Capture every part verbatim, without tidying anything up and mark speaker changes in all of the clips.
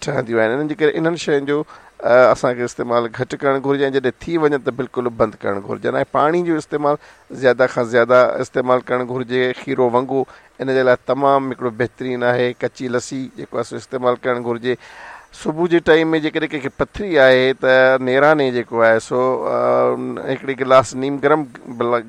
Speaker 1: ٺهنديون آهن. انهن جي ڪري انهن شين جو اسان کي استعمال گهٽ ڪرڻ گهرجي ۽ جڏهن ٿي وڃن ته بلڪل بند ڪرڻ گهرجن ۽ پاڻي جو استعمال زياده کان زياده استعمال ڪرڻ گهرجي. کيرو ونگو ان جي لاءِ تمام هڪڙو بهترين آهي. ڪچي لسي جيڪو آهي سو استعمال ڪرڻ گهرجي. صبح جي ٽائيم ۾ جيڪڏهن ڪنهن کي پٿري آهي ته نيراني جيڪو آهي سو هڪڙي گلاس نيم گرم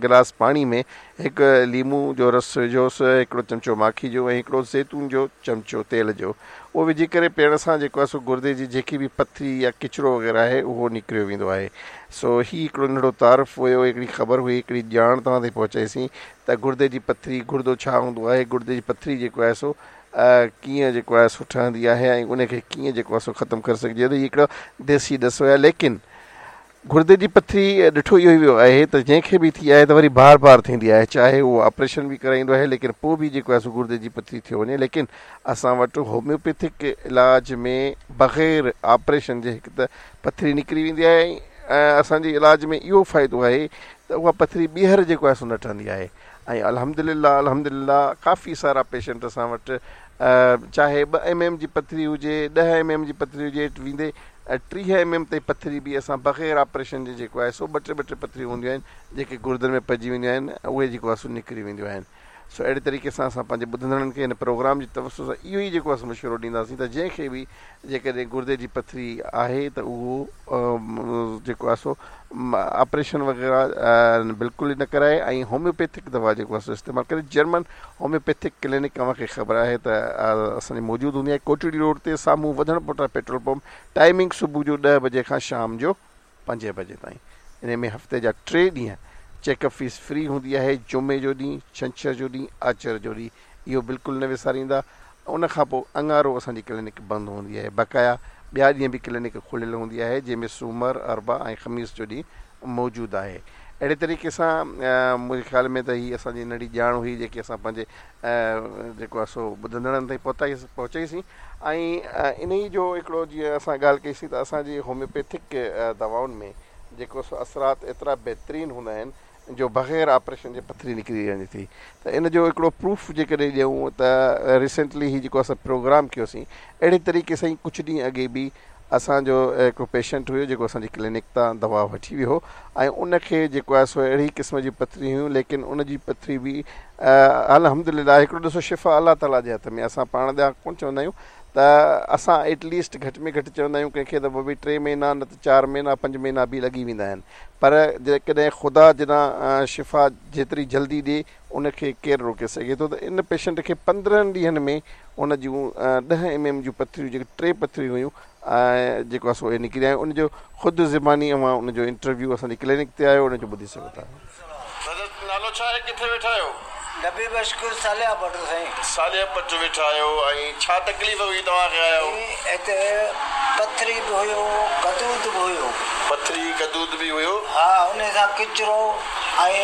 Speaker 1: گلاس پاڻي ۾ هڪ ليمو جو رس وجهوس، هڪڙو چمچو ماکي جو ۽ هڪڙو زيتون جو چمچو تيل جو، اهو وجهي ڪري پيئڻ سان جيڪو آهي سو گردي جي جيڪي به پٿري يا ڪچرو وغيره آهي اهو نڪريو ويندو آهي. سو هي هڪڙو ننڍڙو تعارف هيو، هڪڙي خبر هئي، هڪڙي ڄاڻ توهان تائين پهچائيسين ته گردي جي پٿري، گردو ڇا هوندو آهي، گردي جي پٿري جيڪو آهي سو ڪيئن جيڪو آهي سو ٺهندي آهي ۽ ان کي ڪيئن جيڪو آهي سو ختم ڪري سگهجي ٿو. هي هڪڙو ديسي ڏس هيا. ليڪن گردي جي پٿري ڏٺو اهو ئي ويو آهي ته جنهن کي به ٿي آهي ته وري بار بار ٿيندي آهي، چاهي اهو آپريشن به ڪرائيندو آهي ليڪن پوءِ به جيڪو آهي سو گردي جي پٿري ٿيو وڃي. ليڪن اسان وٽ هوميوپيٿڪ علاج ۾ بغير آپريشن جي هڪ ته پٿري نڪري ويندي آهي ۽ اسان جي علاج ۾ اهو فائدو آهي ته اها پٿري ٻيهر جيڪو آهي سو نه ٺهندي آهي. ۽ الحمدلله الحمدلله ڪافي سارا پيشنٽ اسان وٽ چاهي ٻه ايم ايم جي پٿري هجي، ڏهه ايم ايم جي پٿري هجي، ويندي ٽيهه ايم ايم تائين پٿري به اسان بغير آپريشن جي جيڪو آهي سو ٻه ٽي ٻه ٽي پٿريون هونديون آهن جيڪي گردن ۾ پئجي وينديون آهن اهي جيڪو آهي سو نڪري وينديون آهن. سو اهڙي طريقي سان اسان پنهنجي ٻڌندڙن کي هن پروگرام جي توسط سان اهو ئي جيڪو آهي مشورو ڏينداسين ته جنهن کي به جيڪڏهن گردي جي پٿري آهي ته اهو جيڪو آهي سو آپريشن وغيره بلڪل ئي نه ڪرائي ۽ هوميوپيٿڪ دوا جيڪو آهي سو استعمال ڪري. جرمن هوميوپيٿڪ ڪلينڪ اوهان کي خبر آهي ته اسان جي موجود هوندي آهي ڪوٽڙي روڊ تي سامهون وڌڻ پوٽا پيٽرول پمپ. ٽائيمنگ صبح جو ڏهه بجي کان شام جو پنجين بجي تائين. ان ۾ هفتي جا ٽي ڏينهن چيڪ اپ فيس فري هوندي آهي، جمعي جو ڏينهن، ڇنڇر جو ڏينهن، آچر جو ڏينهن، اهو بلڪل نه وساريندا. ان کان پوءِ اڱارو اسان جي ڪلينڪ بند هوندي آهي. بقايا ٻيا ڏينهن به ڪلينڪ کليل هوندي آهي جنهن ۾ سومر، اربع ۽ خميس جو ڏينهن موجود آهي. اهڙي طريقي سان منهنجي خيال ۾ ته هيءَ اسان جي ننڍي ڄاڻ هئي جيڪي اسان پنهنجي جيڪو آهي سو ٻڌندڙن تائين پهتائي پهچائيسين. ۽ ان ئي جو هڪڙو جيئن اسان ڳالهه ڪئيسين ته اسان جي هوميوپيٿڪ دوائن ۾ جيڪو سو اثرات ايترا بهترين هوندا آهن جو بغير آپريشن جي پٿري نڪري وڃي ٿي. ته ان جو هڪڙو پروف جيڪڏهن ڏيون ته ريسينٽلي هي جيڪو اسان پروگرام ڪيوسين اهڙي طريقي سان ئي ڪجهه ڏينهن اڳي به اسان جو هڪڙو پيشنٽ هيو جيڪو اسان جي ڪلينڪ تان دوا وٺي ويو هو ۽ ان کي جيڪو آهي سو اهڙي قسم جي پٿري هيون، ليڪن ان جي پٿري به الحمدلله هڪڙو ڏسو شفا الله تعاليٰ جي هٿ ۾ اسان پاڻ ڏانهن ڪونه چوندا آهيون ته اسان ايٽليسٽ گهٽ ۾ گهٽ چوندا آهيون ڪنهن کي ته ڀئي ٽي مهينا نه ته چار مهينا پنج مهينا به لڳي ويندا آهن، پر جيڪڏهن خدا جنا شفا جيتري جلدي ڏئي ان کي ڪير روڪي سگهي ٿو. ته ان پيشنٽ کي پندرهن ڏينهن ۾ ان جون ڏهه ايم ايم جون پٿريون جيڪي ٽي پٿريون هيون ۽ جيڪو آهي سو اهي نڪري آيون. ان جو خود زباني اوهان ان جو انٽرويو اسان جي ڪلينڪ تي آيو ان جو ٻڌي سگهو ٿا.
Speaker 2: نالو ڇا آهي، ڪٿي ويٺا آهيو؟
Speaker 3: نبي بخش ساليا پٽ سائين.
Speaker 2: ساليا پٽ ويٺا آهيو ۽ ڇا تڪليف هئي توهان کي آيو؟
Speaker 3: هتي پٿري به هيو، گدود به هيو.
Speaker 2: پٿري گدود به هيو؟
Speaker 3: ها، ان سان ڪچرو ۽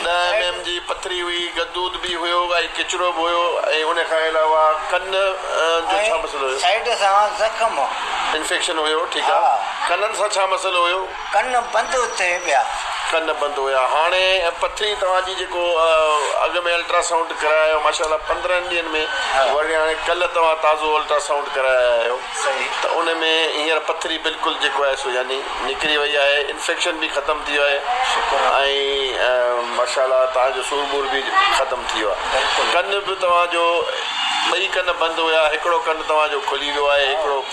Speaker 2: ڏهه ايم ايم جي پٿري هئي، گدود به هيو ۽ ڪچرو به هيو ۽ ان کان علاوه ڪن جو ڇا مسئلو هيو؟
Speaker 3: سائيڊ سان زخم
Speaker 2: انفيڪشن هيو. ٺيڪ آهي. ڪنن سان ڇا مسئلو هيو؟
Speaker 3: ڪن بند ٿئي پيا.
Speaker 2: ڪن بند هيا. هاڻي پٿري توهان جي جيڪو اڳ ۾ الٽراسائونڊ ڪرايو ماشاءالله پندرهن ڏينهن ۾ وري هاڻي ڪلهه توهان تازو الٽراسائونڊ ڪرايا آهيو ته ان ۾ هينئر پٿري بلڪل جيڪو آهي سو يعني نڪري وئي آهي، انفيڪشن به ختم ٿي ويو آهي ۽ ماشاءالله توهان جو سور ٻور به ختم ٿي ويو آهي. ڪن به توهان جو ٻئي ڪن بند هيا، هڪڙو ڪن توهان جو کلي ويو آهي، هڪڙو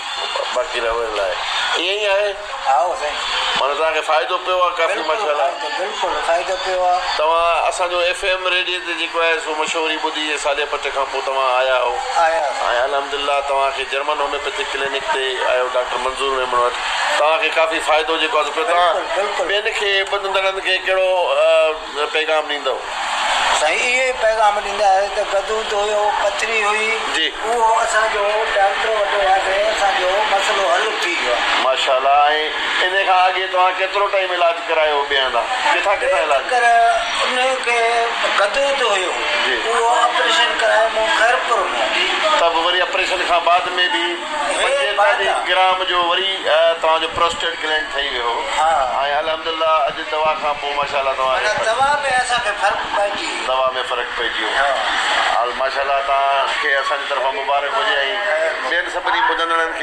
Speaker 2: باقي رهيل آهي. ائين ئي آهي؟
Speaker 3: ها سائين.
Speaker 2: معنيٰ توهان کي فائدو پيو آهي ڪافي ماشاءالله.
Speaker 3: بلڪل فائدو پيو آهي.
Speaker 2: توهان اسان جو ايف ايم ريڊيو تي جيڪو آهي سو مشهوري ٻڌي ساليا پٽ کان پوءِ توهان آيا آهيو ۽ الحمدلله توهان کي جرمن هوميوپيٿڪ ڪلينڪ تي آيو ڊاڪٽر منظور ميمڻ وٽ، توهان کي ڪافي فائدو جيڪو آهي پيو. توهان ٻين کي ٻڌندڙن کي ڪهڙو پيغام ڏيندؤ؟
Speaker 3: سائين اهو ئي پيغام ڏيندا آهيون ته گدود هيو، پٿري هئي،
Speaker 2: جي
Speaker 3: اهو اسان جو ڊاڪٽر وٽ وياسين، اسان جو مسئلو حل ٿي ويو آهي
Speaker 2: ماشاءالله. ۽ ان کان اڳي توهان ڪيترو ٽائيم علاج ڪرايو ٻئي هنڌان؟ ڪٿان ڪٿان علاج؟
Speaker 3: پر ان کي گدود هيو، اهو آپريشن ڪرايو مون خيرپور ۾.
Speaker 2: ته به وري آپريشن کان بعد ۾ به پنجيتاليهه گرام جو وري توهان جو پروسٽيٽ گلينڊ ٺهي ويو هو ۽ الحمدلله اڄ دوا کان پوءِ ماشاءالله توهان
Speaker 3: دوا ۾ اسان کي فرق پئجي ويو.
Speaker 2: دوا ۾ فرق پئجي ويو. ماشاءالله توهان کي اسان جي طرفان مبارڪ هجي ۽ ٻين سڀني ٻڌندڙن کي.